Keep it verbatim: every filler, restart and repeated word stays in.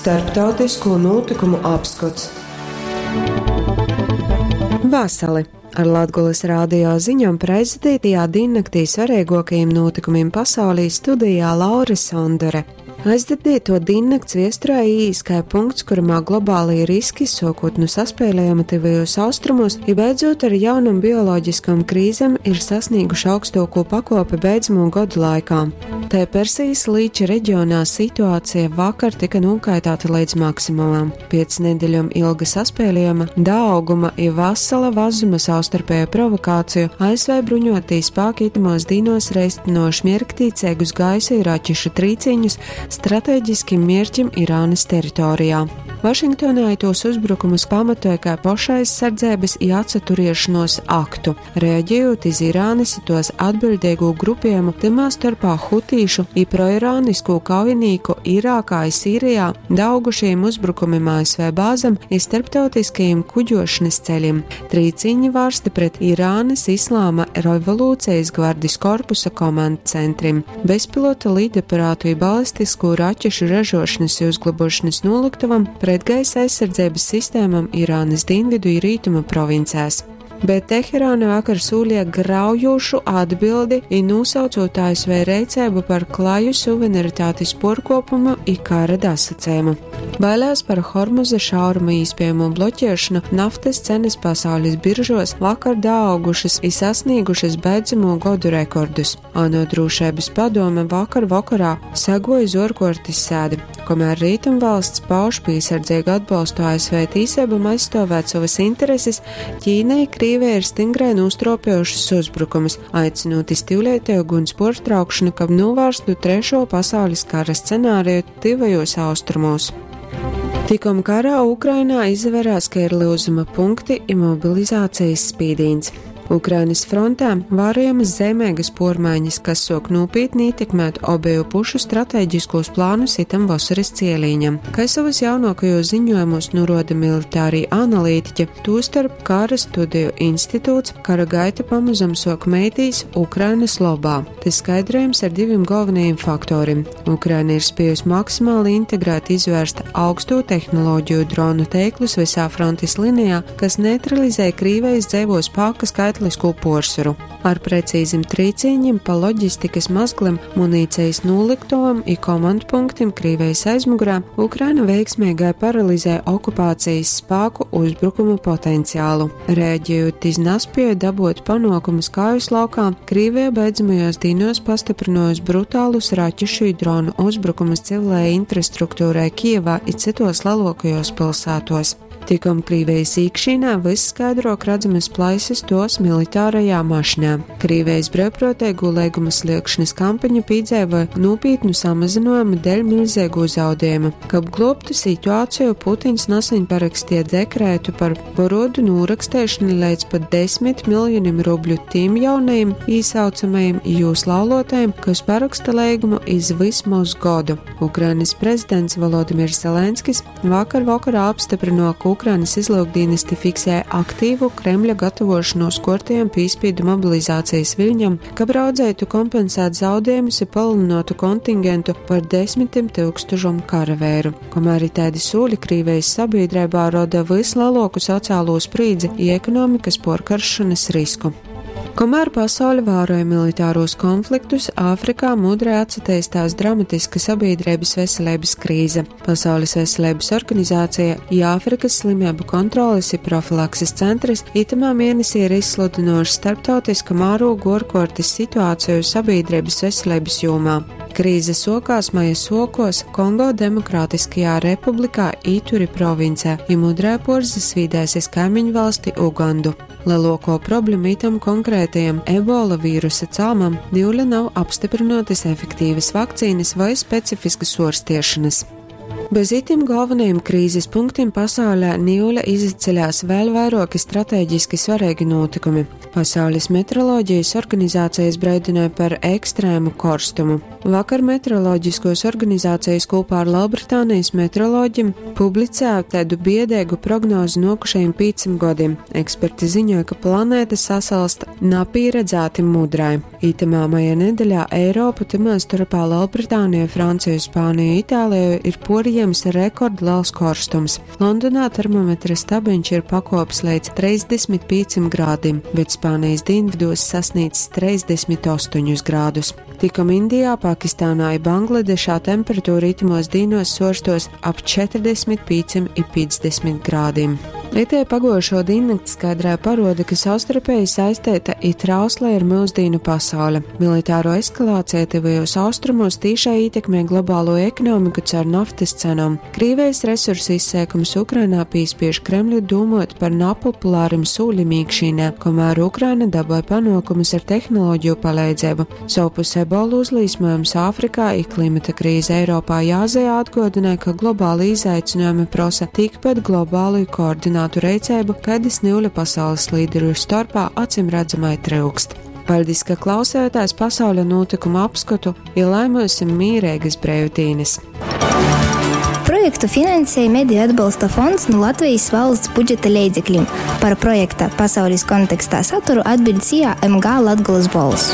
Starptautisko nūtykumu apskots. Vasali! Ar Latgulas rādio ziņom prezidētajā diennaktī svarīgākajiem notikumiem pasaulī studijā Laura Sondore. Aizdadīto diennakts viesturē īs kā punkts, kuramā globālie riski, sokot nu saspēlējuma tuvajos austrumos, i beidzot ar jaunam bioloģiskam krīzem ir sasnieguši augstāko pakopi beidzamo gadu laikā. Tā Persijas līča reģionā situācija vakar tika nokaitāta līdz maksimumam. Piec nedēļām ilga saspēlējuma, dauguma i vasala vazuma savstarpēju provokāciju A S V bruņotī spāki itamos dīnos reistinoši mierktīcīgus gaisa i raķešu trīciņus strateģiskim mierķim Irānas teritorijā. Vašingtonā tos uzbrukumus pamatoja kā pašaizsardzības i atsaturiešanos aktu, reaģējot iz Irānas i tos atbildīgo grupējumu, tymā starpā hutīšu i proirānisku kaujinieku Irākā i Sīrijā daugušajiem uzbrukumiem A S V bāzem i starptautiskajiem kuģošanas ceļiem. Trīciņi vārsti pret Irānas Islāma revolūcijas gvardis korpusa komandu centrim, bezpilota lidaparātu i balistisku raķešu ražošanas i uzglabošanas noliktuvam, pretgaisa aizsardzības sistēmām Irānas dienvidu i rītumu provincēs. Bet Teherāna vakar sūlīja graujošu atbildi i nosaucot A S V reicēbu par klaju suverenitātes porkopumu i kara dasacējumu. Bailēs par Hormuza šauruma īspējamo bloķēšanu naftas cenas pasaules biržos vakar daaugušas i sasniegušas beidzamo godu rekordus. ANO drošības padome vakar vakarā sagoja zorkortis sēdi, kamēr Rietumvalsts pauž piesardzīgu atbalstu A S V tīsībām aizstāvēt savas intereses, Ķīna i Krīvija ir stingrai nostropējušas uzbrukumus, aicinot iz tivlētēju guns portraukšanu, kab novērstu trešo pasaules kara scenāriju tivajos austrumos. Tikom karā Ukrainā izvērās, ka ir lyuzuma punkti i mobilizācijas spīdīns. Ukrainas frontē vērojamas zeimīgas pormaiņas, kas sok nopietni ietekmēt obeju pušu strateģiskos plānus itam vasaras cielīņam. Kā savus jaunākajos ziņojumos nuroda militārī analītiķi, tostarp Kara studiju institūts, kara gaita pamazam sok meitīs Ukrainas lobā. Tas skaidrojams ar diviem galvenajiem faktoriem. Ukraina ir spējusi maksimāli integrēt izvērst augsto tehnoloģiju dronu teiklus visā frontes linijā, kas neutralizē Krīvijas dzeivo spāka skaitlisko porsvaru. Ar precīzim trīcīņiem pa loģistikas mazglim, munīcijas noliktovam i komandu punktim Krīvijas aizmugurā Ukraina veiksmīgai paralizē okupācijas spāku uzbrukuma potenciālu. Rēģējot iz naspēju dabūt panākumus kājas laukā, Krīvija beidzamajos dīnos pastiprinājusi brutālus raķešu i dronu uzbrukumus civilajai infrastruktūrai Kijevā i citos lielākajos pilsētos. Tikom Krīvijas īkšķīnā vysskaidrok redzamas plaisas tos militārajā mašinā. Krīvijas brīvprātīgo leiguma sliekšanas kampaņa pīdzēva nopietnu samazinājumu dēļ milzīgu zaudējumu. Kab globtu situāciju, Putins nesen parakstīja dekrētu par porodu norakstēšanu līdz pat desmit miljoniem rubļu tiem jaunajiem īsaucamajiem jūs laulotajiem, kas paraksta leigumu iz vismaz godu. Ukrainas prezidents Volodimirs Zelenskis vakar vakarā apstiprināja, ka Ukrainas izlūkdienesti fiksē aktīvu Kremļa gatavošanos kortajam pīspīdu mobilizācijas viļņam, kab raudzētu kompensēt zaudējumus i palielinātu kontingentu par desmitiem tūkstošiem karavēru. Kamēr ir tādi sūļi Krīvijas sabiedrībā roda vislielāku sociālo sprīdzi i ekonomikas porkaršanas risku. Kamēr pasaule vēroja militāros konfliktus, Āfrikā mudri atsateistās dramatiska sabiedrības veselības krīze. Pasaules veselības organizācija i Āfrikas slimību kontroles i profilakses centrs itamā mēnesī ir izsludinoši starptautiska mērogu ārkārtas situāciju sabiedrības veselības jomā. Krīze sokās maija sokos Kongo Demokrātiskajā republikā Ituri provincē, i mudrē porza svīdēsies kaimiņu valsti Ugandu. Lielāko problēmu itam konkrētajam ebola vīrusa cāmam niule nav apstiprinātas efektīvas vakcīnas vai specifiskas orstiešanas. Bez itim galvenajiem krīzes punktiem pasaulē niule izceļās vēl vairāki strateģiski svarīgi notikumi. Pasaules meteoroloģijas organizācijas brīdināja par ekstrēmu korstumu. Vakar meteoroloģiskos organizācijas kopā ar Lielbritānijas meteoroloģiem publicēja tādu biedēgu prognozi nokušajiem pieciem gadiem. Eksperti ziņoja, ka planēta sasalst napieredzēti mudrai. Itamā maija nedēļā Eiropu, timā starpā Lielbritāniju, Franciju, Spāniju, Itāliju ir porījams rekordliels korstums. Londonā termometra stabiņš ir pakops līdz trīsdesmit pieciem grādiem, bet Spānijas dienvidos sasniedz trīsdesmit astoņus grādus. Tikom Indijā, Pakistānā i Bangladešā temperatūra itimos dīnos sorstos ap četrdesmit pieciem i piecdesmit grādiem. Itē pagojušo diennakti skaidrā paroda, ka savstarpēji saistēta i trauslē ir mūsdīnu pasaule. Militāro eskalācija tuvajos austrumos tīšai ietekmē globālo ekonomiku caur naftas cenām. Krīvijas resursu izsēkums Ukrainā pīspiež Kremļu domot par napopulārim sūļim īkšīnē, kamēr Ukraina dabūja panākumus ar tehnoloģiju palīdzību. Savpus ebola uzlīsmojums Āfrikā i klimata krīze Eiropā i Āzijā atgādināja, ka globāli izaicinājumi prasa tikpat globālu i koordinātu reicēbu, kādas niuļa pasaules līderu starpā acim redzamai trūkst. Paldies, ka klausējāties pasaules notikuma apskatu, ja lai mums ir mīrīgas brīvdienas. Projektu finansēja Mediju atbalsta fonds no Latvijas valsts budžeta līdzekļiem. Par projekta pasaules kontekstā saturu atbild S I A M G Latgulas Bols.